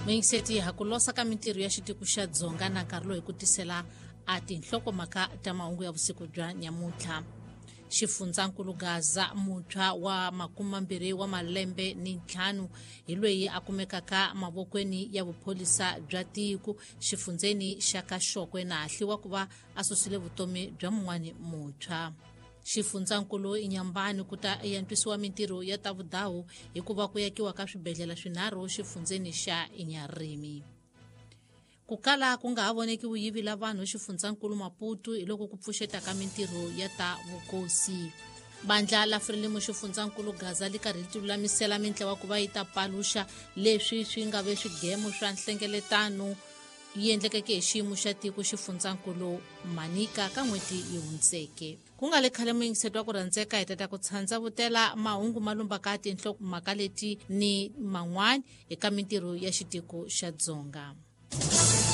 Muyingiseti ha ku losa ka mintirho ya xitiko xa Dzonga na nkarhi lowu hi ku tisela a tinhlokomhaka ta mahungu ya vusiku bya nyamuntlha. Xifundzankulu Gaza muntshwa wa 25 wa malembe ni ntlhanu hi loyi a kumekaka mavokweni ya vupholisa bya tiko xifundzeni xa ka Xokwe na hahliwa ku va a susile vutomi bya mun'wani muntshwa. Xifundzankulu Inyambani ku ta yantswisiwa mintirho ya ta vudahu hikuva ku yakiwa ka swibedhlele swinharhu xifundzeni xa Inyarimi. Ku kala ku nga ha voneki vuyivi la vanhu xifundzankulu Maputo hi loko ku pfuxeta ka mintirho ya ta vukosi. Bandla la Frelimo xifundzankulu Gaza li karhi li tilulamisela mintlawa ku va yi ta paluxa leswi swi nga ve swigemo swa nhlengeletano yi endlekeke hi xiyimo xa tiko xifundzankulu Manica ka n'hweti yi hundzeke. Ku nga le khale muyingiseti wa ku rhandzeka hi tata ku tshandza vutela mahungu ma lumbaka tinhlokomhaka leti ni man'wana eka mintirho ya xitiko xa Dzonga.